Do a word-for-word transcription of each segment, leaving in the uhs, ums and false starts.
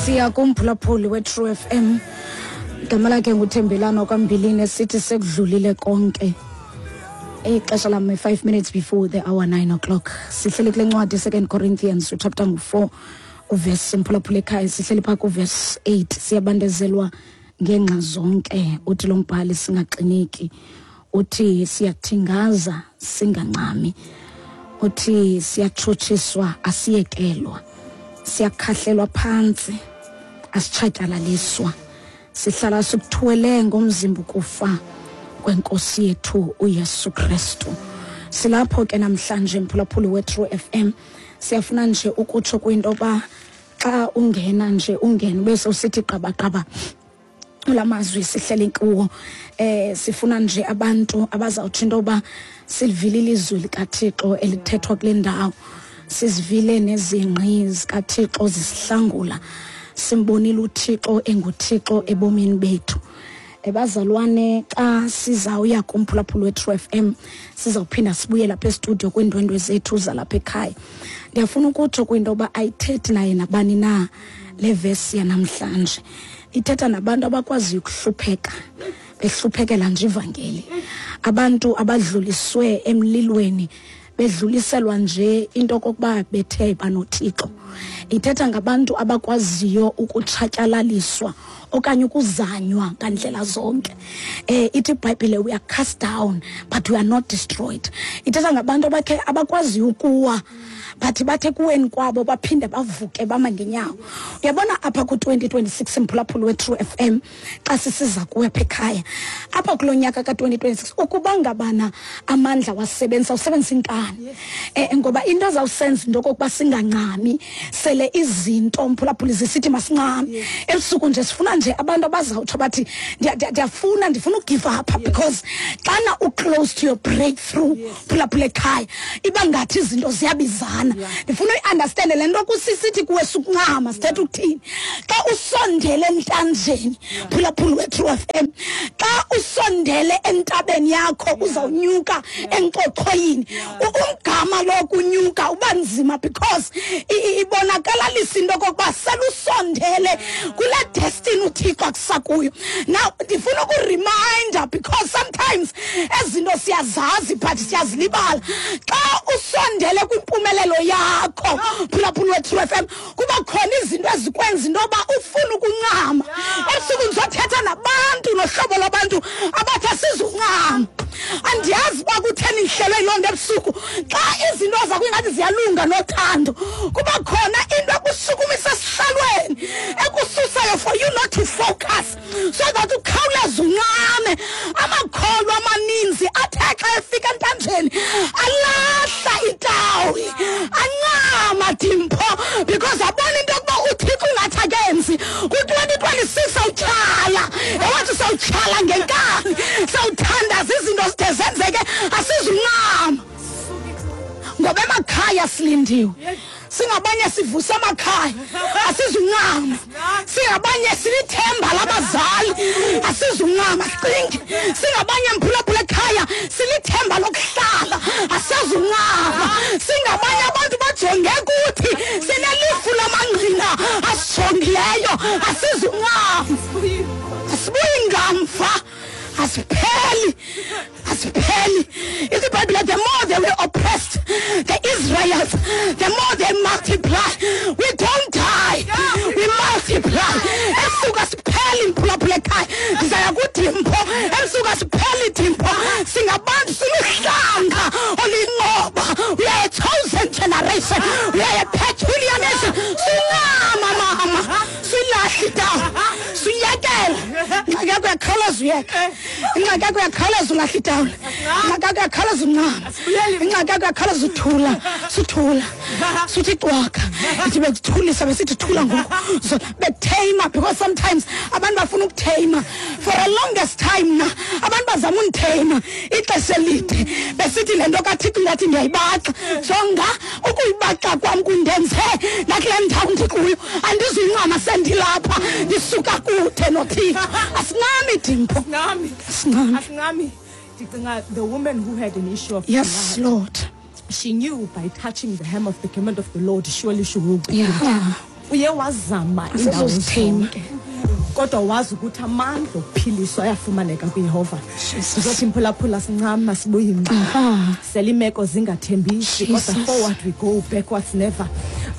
Siya kumphulaphuli we-True F M. Igama lakhe nguThembelano kaMbilini, esithi sekudlulile konke. Ixesha lam five minutes before the hour nine o'clock. Sihleli kule ncwadi Second Corinthians chapter four uverse, mphulaphuli ekhaya, sihleli phaa kuverse eight. Siyabandezelwa ngeenxa zonke, uthi lo mbhali, singaxineki. Uthi siyathingaza singancami. Uthi siyatshutshiswa asiyekelwa. Siyakhahlelwa phantsi asitshatyalaliswa. Sihlala sikuthwele ngomzimba ukufa kwenkosi yethu uYesu Kristu. Silapho ke namhlanje mphulaphuli we-True F M. Siyafuna nje ukutsho kwinto ba xa ungena nje ungena bese usithi qabaqaba lamazwi sihleli kuwo. Eh sifuna nje abantu abazawutsho into ba silivile ilizwi likaThixo elithethwa kule ndawo. Sizivile nezingqi zikaThixo zisihlangula. Simbonile uThixo enguThixo ebomini bethu. Ebazalwane, xa sizawuya kumphulaphuli we-True F M, sizawuphinda sibuye lapha estudio kwiindwendwe zethu zalapha ekhaya. Ndiyafuna ukutsho kwinto yoba ayithethi naye nabani na le vesi yanamhlanje. Ithetha nabantu abakwaziyo ukuhlupheka, behluphekela nje ivangeli. Abantu abadluliswe emlilweni, bedluliselwa nje into okokuba bethe banoThixo. Ithetha ngabantu abakwaziyo ukutshatyalaliswa okanye ukuzanywa ngandlela zonke. Eh ithi iBhayibhile, we are cast down but we are not destroyed. Ithetha ngabantu abakhe abakwaziyo ukuwa, bathi bathe kuweni kwabo baphinde bavuke bama ngenyawo. Uyabona apha ku twenty twenty-six mphulaphuli we-True F M, xa sisiza kuwe apha ekhaya, apha kulo nyaka ka twenty twenty-six, ukuba ngabana amandla wasebenzisa, usebenzisa inkani. Eh ngoba into azawusenza into okokuba singancami, sele izinto mphulaphuli zisithi masincame. Ebusuku nje sifuna nje abantu abazawutsho bathi ndiyafuna ndifuna ugive up, because xana u-close to your breakthrough, phulaphula ekhaya, iba ngathi izinto ziyabizana. Ndifuna uyi-understande le nto kusisithi kuwe sukuncama, sithetha ukuthini. Xa usondele entanjeni, phulaphula we-True F M, xa usondele entabeni yakho uzawunyuka enkochoyini, umgama lo kunyuka uba nzima, because ibonakalalisa into okokuba selusondele kule destiny uThixo akusakuyo. Now ndifuna ukureminder, because sometimes ezinto siyazazi but siyazilibala. Xa usondele kwimpumelelo yakho, phulaphula we-True F M, kuba khona izinto ezikwenza into yoba ufuna ukuncama. Ebusuku ndizothetha nabantu nohlobo lwabantu abathi asizuncama. Andiyazi uba kutheni ndihlelwe yiloo nto ebusuku. Xa izinto zakho ingathi ziyalunga nothando, kuba khona into ekusukumisa esihlalweni, ekususayo for you not to focus, so that ukhawuleze uncame. Amakholwa amaninzi athe xa efika entanjeni alahla itawi, ancama dimpho, because abona into yokuba uThixo ungathi akenzi. Ku-twenty twenty-six awutyhala, ewathi sawutyhala ngenkani, sawuthandaza izinto zide zenzeke, asizuncama. Ngoba emakhaya silindiwe. Singabanye sivusa amakhaya, asizuncama. Singabanye silithemba labazali, asizuncama. Sicinge singabanye mphulaphula ekhaya, silithemba lokuhlala, asizuncama. Singabanye abantu bajonge kuthi, sinelifu lamangqina asijongileyo, asizuncama. Asibuyi ngamva, asipheli, asipheli. Ithi iBhayibhile, the more they were oppressed, the Israelites, the more they multiply. We don't die, we multiply. Esuka sipheli mphulaphula ekhaya, ndizaya kudimpho. Esuka sipheli dimpho. Singabantu siluhlanga oluyinqoba. We are a chosen generation, we are a peculiar nation. Sincama mama, silahla itawu, siyekela. Ingxaki yakho uyakhawuleza uyeka, ingxaki yakho uyakhawuleza ulahla itawula, ingxaki yakho uyakhawuleza uncama, ingxaki yakho uyakhawuleza uthula, suthula, suthi cwaka. Ithi bekuthulisa besithi thula ngoku, bekutheyima, because sometimes abantu bafuna ukutheyima. For a longest time na abantu bazama unditheyima ixesha elide, besithi le nto kaThixo ngathi ndiyayibaxa. Jonga ukuyibaxa kwam kundenze nakule ndawo ndikuyo, andizuyincama sendilapha, ndisuka kude noThixo. Asincami dimpho, asincami. Asincami. Ndicinga the woman who had an issue of yes, blood, Lord, she knew by touching the hem of the garment of the Lord, surely she will be healed. Yeah. Uye wazama indawo zonke, kodwa wazi ukuthi amandla okuphiliswa ayafumaneka kuYehova. Sizothi mphulaphula sincama sibuye imva. Selimeko zingathembisi, kodwa forward we go, backwards never.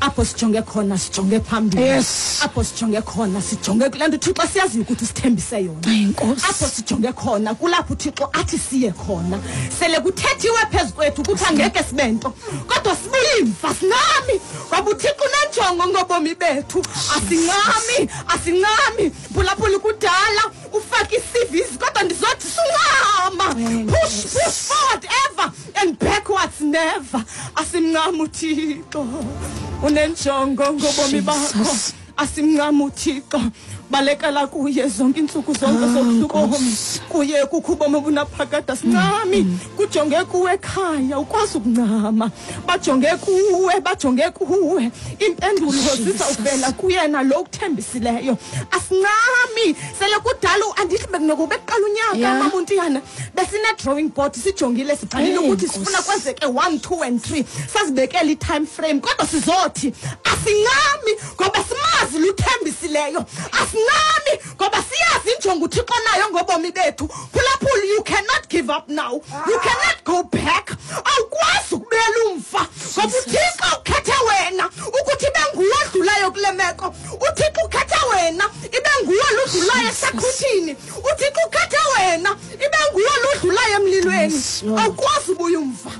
Apho sijonge khona sijonge phambili. Yes. Apho sijonge khona sijonge kule nto uThixo siyaziyo ukuthi usithembise yona. Apho sijonge khona kulapho uThixo athi siye khona. Sele kuthethiwe phezu kwethu ukuthi angeke sibe nto, kodwa sibuye imva sincami, ngoba uThixo unenjongo ngobomi bethu. Asincami, asincami. Phulaphula kudala ufake i-C Vs, kodwa ndizothi suncama. Push, push forward ever and backwards never. Asimncami uThixo unenjongo ngobomi bakho. Asimncami uThixo, balekela kuye zonke iintsuku zonke zobusuku. Kuye kukho ubomi obunaphakade. Asincami, kujonge kuwe ekhaya ukwazi ukuncama. Bajonge kuwe, bajonge kuwe. Impendulo zizawuvela kuyena lo ukuthembisileyo. Asincami, sele kudala andithi bekunokuba kuqala unyaka mamuntiyana besine drawing board sijongile sibhalile ukuthi sifuna kwenzeke one, two and three. Sazibekela i-time frame, kodwa sizothi asincami ngoba simazi luthembisileyo. Asincami ngoba siyazi injongo uThixo nayo ngobomi bethu. Phulaphula, you cannot give up now. You cannot go back. Awukwazi ukubuyela umva ngoba uThixo ukhethe wena ukuthi ibe nguwe odlulayo kule meko. uThixo ukhethe wena ibe nguwe odlulayo esaqhuthini. uThixo ukhethe wena ibe nguwe odlulayo emlilweni. Awukwazi ubuya umva.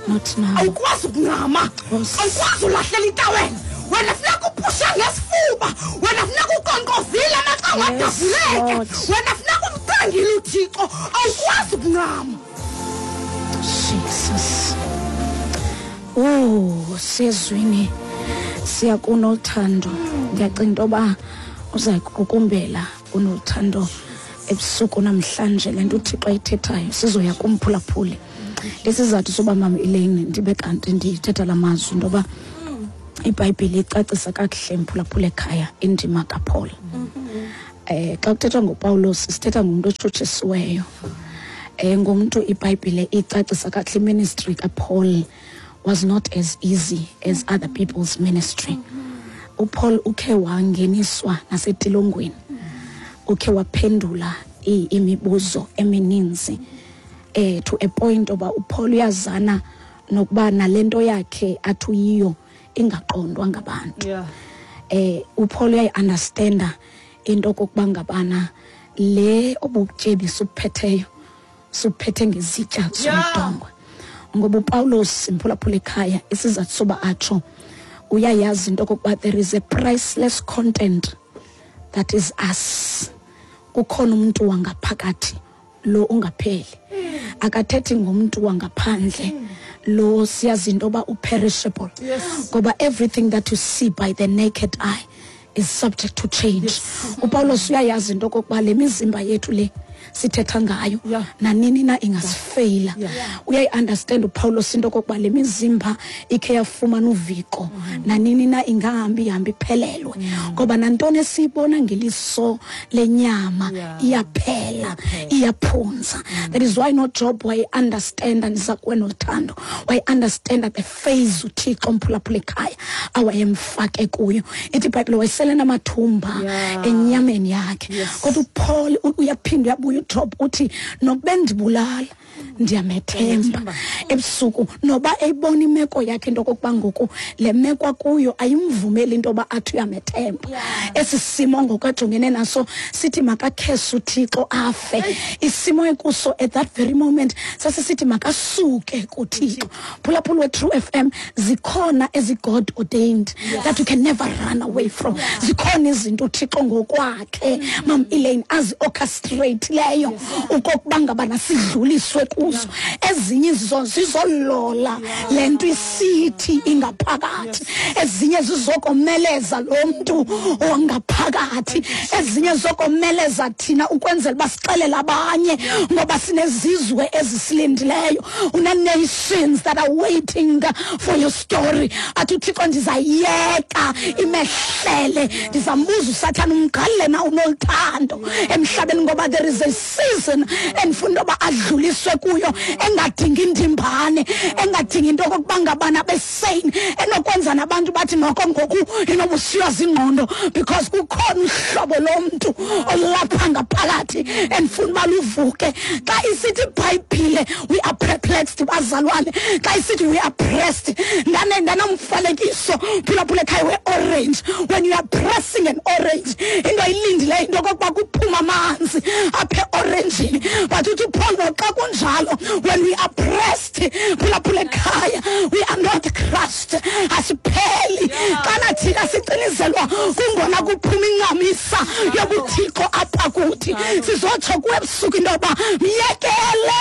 Not now. Awukwazi ukuncama. Awukwazi ulahlela itawela. Wena funeka upushe ngesifuba. Wena funeka uqonqozile amacango adavuleke. Wena funeka umcengile uThixo. Awukwazi ukuncama. Jesus. Oh, sezwini siya kunothando. Ndiyacinga into yoba uza kuqukumbela unothando ebusuku namhlanje. Le nto uThixo ayithethayo sizoya kumphulaphuli. Lesizathu soba mama Elaine ndibe kanti ndithetha la mazwi into yoba iBhayibhile icacisa kakuhle mphulaphula ekhaya indima kaPaul. Eh xa kuthethwa ngoPawulos sithetha ngomuntu otshutshisiweyo. Eh ngomuntu iBhayibhile icacisa kakuhle ministry kaPaul was not as easy as other people's ministry. uPaul ukhe wangeniswa nasetilongweni. Ukhe waphendula imibuzo emininzi eh to a point oba uPaul uyazana nokuba nalento yakhe athuyiyo ingaqondwa ngabantu. Yeah. Eh uPaul uyayi-understanda into okokuba ngabana le obubutyebi suphetheyo suphethe ngezitya zomdongwe. Ngoba uPawulos mphulaphula ekhaya isizathu soba atsho uyayazi into okokuba there is a priceless content that is us. Kukhona umuntu wangaphakathi lo ungapheli. Akathethi ngomuntu wangaphandle lo siyazi into yoba uperishable. Ngoba everything that you see by the naked eye is subject to change. Yes. uPawulos uyayazi into okokuba le mizimba yethu le sithetha ngayo yeah. nanini na ingasifeyila. Yeah. Uyayi-understand uPawulos into okokuba le mizimba ikhe yafumana uviko mm-hmm. nanini na ingahambi ihambi iphelelwe ngoba mm. nantoni esiyibona ngeliso lenyama yeah. iyaphela iyaphunza. Mm. That is why no Job wayi-understand ndiza kuwe nothando wayi-understand the phase uThixo mphulaphula ekhaya awayemfake kuyo. Ithi iBhayibhile wayesele namathumba yeah. enyameni yakhe. Yes. Kodwa uPaul uyaphinda uyabuya uJob uthi nokube ndibulala ndiyamethemba ebusuku noba eyibona imeko yakhe into okokuba ngoku le meko akuyo ayimvumeli into yoba athi uyamethemba. Esi simo ngoku ajongene naso sithi makakhese uThixo afe. Isimo ekuso at that very moment sasisithi makasuke kuThixo. Phulaphula we-True F M, zikhona ezi God ordained yes. that you can never run away from. Zikhona izinto uThixo ngokwakhe Mam Elaine azi-orchestrate leyo ukokuba ngabana sidluliswe kuzo. Ezinye izo zizolola lento isithi ingaphakathi, ezinye zizokomeleza lo mntu ongaphakathi, ezinye zokomeleza thina ukwenzela uba sixelele abanye ngoba sinezizwe ezisilindileyo. Una-nations that are waiting for your story. Athi uThixo ndizayiyeka imehlele, ndizambuza uSathana umqalele na unoluthando emhlabeni ngoba there is a I-season endifuna into yoba adluliswe kuyo engadingi indimbane, engadingi into okokuba ngabana besane, enokwenza nabantu bathi noko ngoku inoba usiywa zingqondo because kukhona uhlobo lomntu olapha ngaphakathi endifuna uba luvuke. Xa isithi iBhayibhile we are perplexed, bazalwane, xa isithi we are pressed, ndanomfanekiso phulaphula ekhaya we-orange. When you are pressing an orange, into ayilindileyo into okokuba kuphuma amanzi apha eoranjini. But uthi uPaul xa kunjalo, when we are pressed, phulaphula ekhaya, we are not crushed, asipheli. Xana thina sicinizelwa kungona kuphuma incamisa yobuthixo apha kuthi. Sizotsho kuwe ebusuku into yoba myekele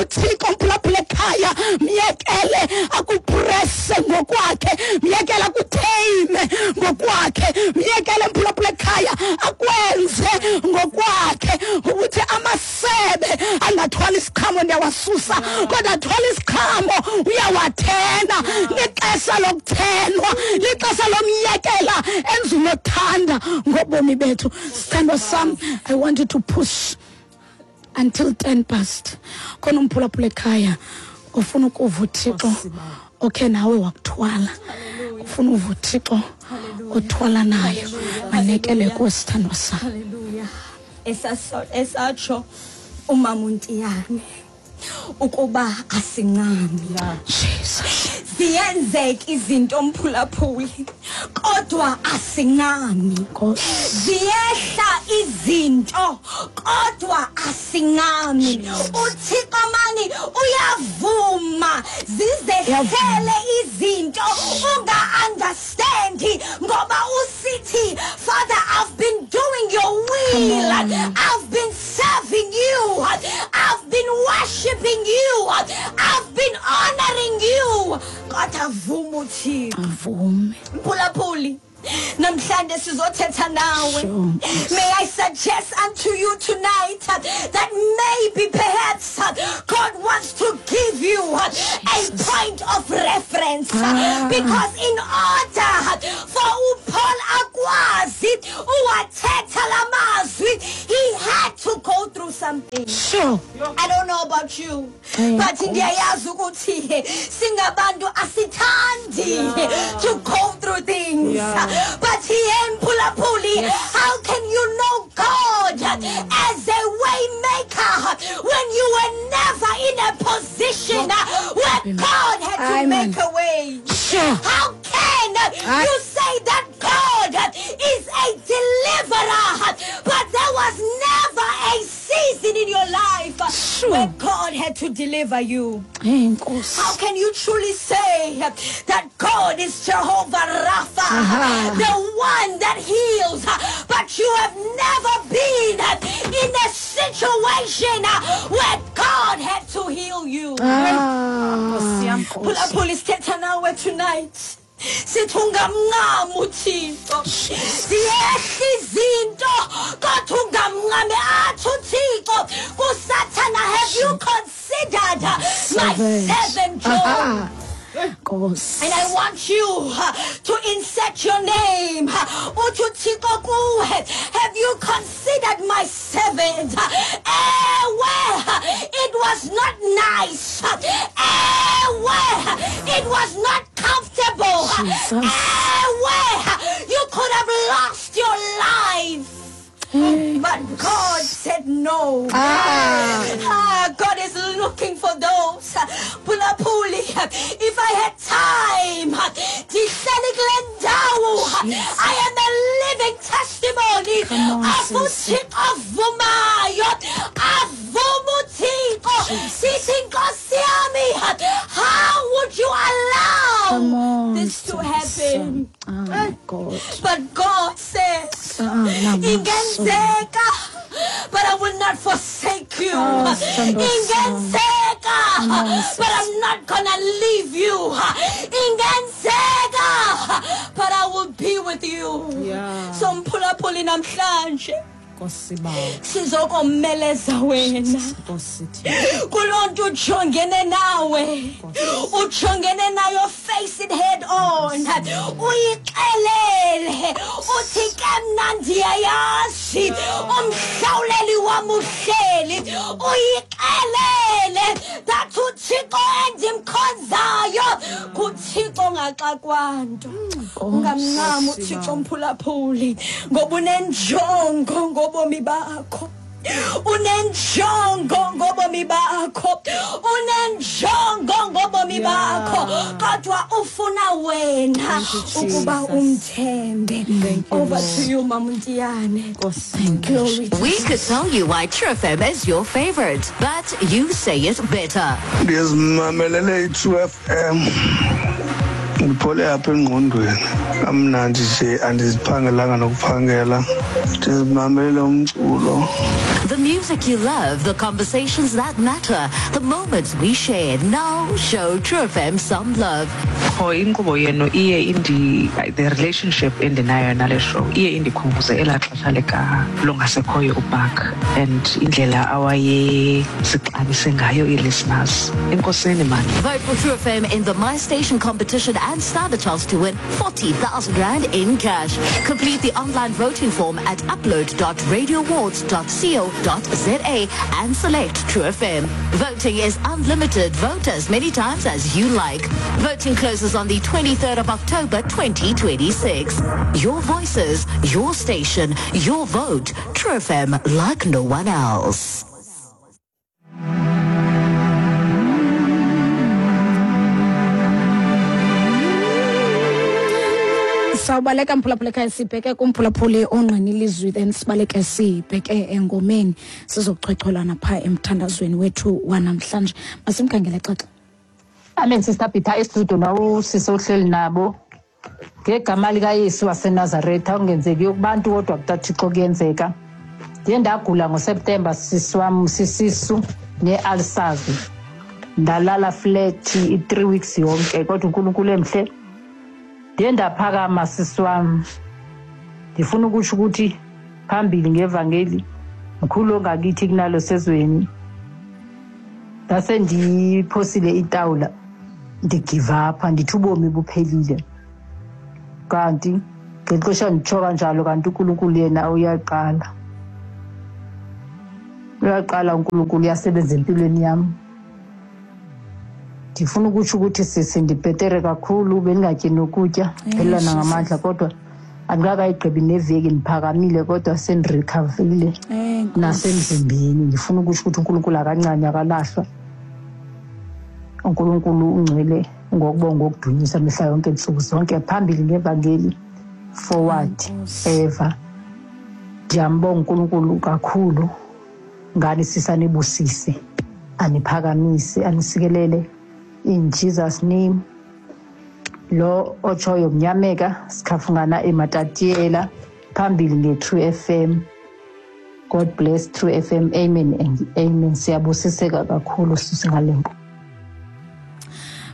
uThixo, mphulaphula ekhaya, myekele akupresse ngokwakhe, myekele akutheyime ngokwakhe, myekele mphulaphula ekhaya akwenze ngokwakhe. Ukuthi amasebe angathwala isiqhamo ndiyawasusa, kodwa athwala isiqhamo uyawathena. Lixesha lokuthenwa, lixesha lomyekela enza unothanda ngobomi bethu. Sithandwa sam, I want you to push until ten past. Khona umphulaphula ekhaya ufuna ukuva uThixo okhe nawe wakuthwala, ufuna uva uThixo othwala nayo, manekele kuwe sithandwa sam. Haleluya. Esatsho umama uNtiyane ukuba asincami. Jesus. Ziyenzeka izinto mphulaphuli kodwa asincami. Ziyehla izinto kodwa asincami. uThixo mani uyavuma zizehlele izinto unga understand ngoba usithi Father, I've been doing your will, I've been serving you, I've been worshiping you, I've been honoring you. Kodwa vuma uThixo. Avume. Mphulaphuli, namhlanje sizothetha nawe. May I suggest unto you tonight that maybe perhaps God wants to give you a point of reference. Ah. Because in order for uPaul akwazi uwathetha lamazwi, he had to go through something. Sure. I don't know about you, but ndiyayazi ukuthi singabantu asithandi to go through things. Yeah. But he ain't Pulapuli. Yes. How can you know God as a way maker when you were never in a position where God had to Amen. make a way? Sure. How can I- you say that God is a deliverer, but there was never a season in your life Sure. where God had to deliver you? Hey, Nkosi. How can you truly say that God is Jehovah Rapha, Aha. the one that heals, but you have never been in a situation where God had to heal you? Ah, Phulaphula, sithetha nawe tonight. Sithi ungamncami uThixo. Ziyehla izinto kodwa ungamncami. Athi uThixo kuSathana, have you considered my servant Job? Aha. Nkosi. And I want you uh, to insert your name. Uthi uThixo kuwe, have you considered my servant? Ewe, it was not nice. Ewe, it was not comfortable. Jesus. Ewe, you could have lost your life. But God said no. Ah. Ah, God is looking for those. Pulapuli, if I had time, ndihleli kule ndawo, I am a living testimony Come on, of sis. uThixo avumayo. Avuma uThixo. Sithi Nkosi yami, how would you allow Come on, this to happen? Oh, God. But God says, Ah, namaso. ingenzeka, but I will not forsake you. Oh, sithandwa Ingenzeka, Come on, sis. but I'm not gonna leave you. Ingenzeka, but I will be with you. Yeah. So mphulaphuli namhlanje Nkosi bawo. sizokomeleza wena Nkosi Thixo. kuloo nto ujongene nawe, ujongene nayo, face it head on, uyixelele uthi ke mna ndiyayazi umhlawuleli wam uhleli. Bhayibheli uyixelele that uThixo endimkhonzayo nguThixo ongaxakwanto. Ungamncami uThixo mphulaphuli ngoba unenjongo ngobomi bakho, unenjongo ngobomi bakho, unenjongo ngobomi bakho, kodwa ufuna wena ukuba umthembe. Over to you, Mamuntiyane. Glory. We could tell you why True F M is your favorite, but you say it better. Ndizimamelele i-True F M. Ndiphole apha engqondweni, kamnandi nje, andiziphangelanga nokuphangela. Ndizimamelele umculo. The music you love, the conversations that matter, the moments we share. Now show True F M some love. Qho inkqubo yenu iye indi the relationship endinayo nale show iye indikhumbuze elaa xesha lika longasekhoyo uBark and indlela awayesixabise ngayo ii-listeners. Enkosini man. Vote for True F M in the My Station competition and stand a chance to win forty thousand rand in cash. Complete the online voting form at upload dot radio awards dot co dot za and select True F M. Voting is unlimited. Vote as many times as you like. Voting closes on the twenty-third of October twenty twenty-six. Your voices, your station, your vote. True F M, like no one else. Sawubaleka mphulaphuli ekhaya, sibheke kumphulaphuli ongqina ilizwi, then sibaleke sibheke engomeni sizochwechwelana phaa emthandazweni wethu wanamhlanje. Masimkhangele xaxa. Amen, Sister Peter, estudio nawusisi ohleli nabo. Ngegama likaYesu waseNazaretha okungenzekiyo kubantu kodwa kuTathixo kuyenzeka. Ndiye ndagula ngoSeptemba sisi wam sisisu nee-ulcers. Ndalala flat i-three weeks yonke kodwa uNkulunkulu emhle. Ndiye ndaphakama sisi wam. Ndifuna ukusho ukuthi phambili ngevangeli mkhulu ongakithi kunalo sezweni. Ndase ndiphosile itawula ndigive up, ndithi ubomi buphelile. Kanti ngexesha nditsho kanjalo kanti uNkulunkulu yena uyaqala. Uyaqala uNkulunkulu uyasebenza empilweni yam. Ndifuna ukusho ukuthi sisi ndibhetere kakhulu, bendingatyi nokutya, phelelana ngamandla kodwa andikakayigqibi neveki ndiphakamile kodwa sendirekhavile nasemzimbeni. Ndifuna ukusho ukuthi uNkulunkulu akancane akalahlwa. uNkulunkulu ungcwele ngokubonga okudunyisa mihla yonke ntsuku zonke, phambili ngevangeli, forward ever. Ndiyambonga uNkulunkulu kakhulu ngani sisanibusise, aniphakamise, anisikelele in Jesus name. Lo otshoyo mnyameka sikhafungana eMatatiyela, phambili nge-True F M. God bless True F M. Amen and amen. Siyabusiseka kakhulu sisingalenko.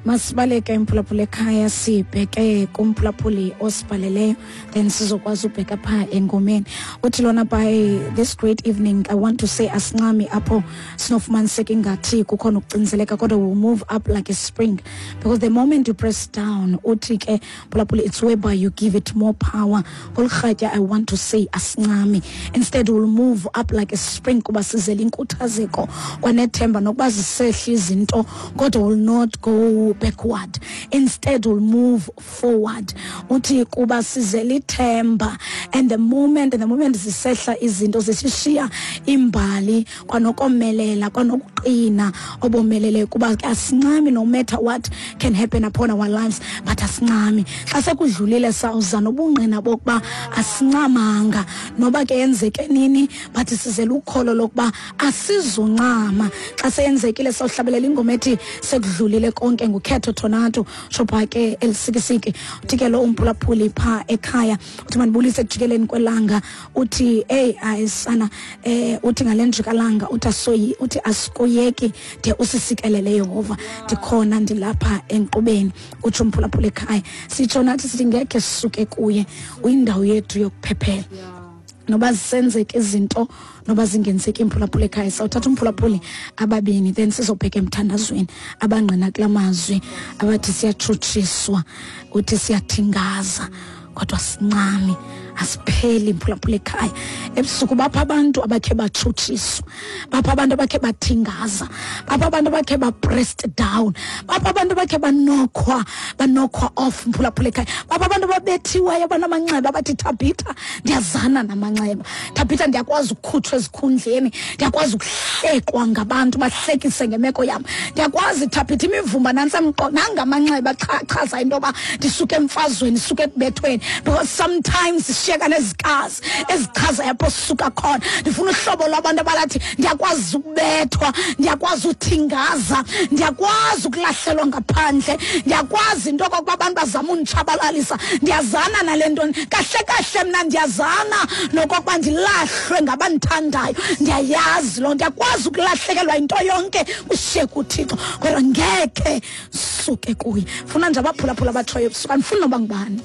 Masibaleke imphulaphuli ekhaya sibheke kumphulaphuli osibhaleleyo, then sizokwazi ubheka phaa engomeni. Uthi lona, by this great evening I want to say asincami apho sinofumaniseka ingathi kukhona ukucinzeleka, kodwa we'll move up like a spring, because the moment you press down, uthi ke mphulaphuli, it's whereby you give it more power. Ngolurhatya I want to say asincami, instead we'll move up like a spring kuba sizele inkuthazeko kwanethemba nokuba zisehla izinto, kodwa will not go backward, instead will move forward. Uthi kuba sizele ithemba, and the moment and the moment zisehla izinto zisishiya imbali kwanokomelela kwanokuqina obomelele, kuba asincami no matter what can happen upon our lives, but asincami. Xa sekudlulile sawuza nobungqina bokuba asincamanga noba ke yenzeke nini, but sizele ukholo lokuba asizuncama. Xa seyenzekile sawuhlabelela ingoma ethi sekudlulile konke ngukhetho Tornado shopha ke elisikisiki. Uthi ke lo umphulaphuli pha ekhaya uthi mandibulise ekujikeleni kwelanga, uthi hey ayisana eh uthi ngale njikalanga uthi asoyi uthi asikoyeki de usisikelele Yehova, ndikhona ndilapha enkqubeni, utsho umphulaphuli ekhaya. Sitsho nathi sithi ngekhe sisuke kuye, uyindawo yethu yokuphephela. Noba zisenzeke izinto noba zingenzeki imphulaphuli ekhaya, sawuthatha umphulaphuli ababini then sizobheka emthandazweni abangqina kula mazwi abathi siyatshutshiswa, uthi siyathingaza kodwa sincami, Asipheli, mphulaphula ekhaya. Ebusuku bapha abantu abakhe batshutshiswa, bapha abantu abakhe bathingaza, bapha abantu abakhe ba-pressed down, bapha abantu abakhe banokhwa banokhwa off, mphulaphula ekhaya. Bapha abantu ababethiweyo, banamanxeba, abathi, "Thabitha, ndiyazana namanxeba. Thabitha, ndiyakwazi ukukhutshwa ezikhundleni, ndiyakwazi ukuhlekwa ngabantu, bahlekise ngemeko yam. Ndiyakwazi, Thabitha, imivumba nantsi emqo nangamanxeba chaza into yoba ndisuke emfazweni, ndisuke ekubethweni," because sometimes sishiyeka nezikazi ezichazayo apho sisuka khona. Ndifuna uhlobo lwabantu abalathi, "Ndiyakwazi ukubethwa, ndiyakwazi uthingaza, ndiyakwazi ukulahlelwa ngaphandle, ndiyakwazi into okokuba abantu bazama unditshabalalisa. Ndiyazana nale nto. Kahle kahle mna ndiyazana nokokuba ndilahlwe ngabandithandayo. Ndiyayazi loo nto. Ndiyakwazi ukulahlekelwa yinto yonke, kushiyeke uThixo, kodwa ngekhe suke kuye." Funa nje abaphulaphula abatshoyo ebusuku, andifuni noba ngubani.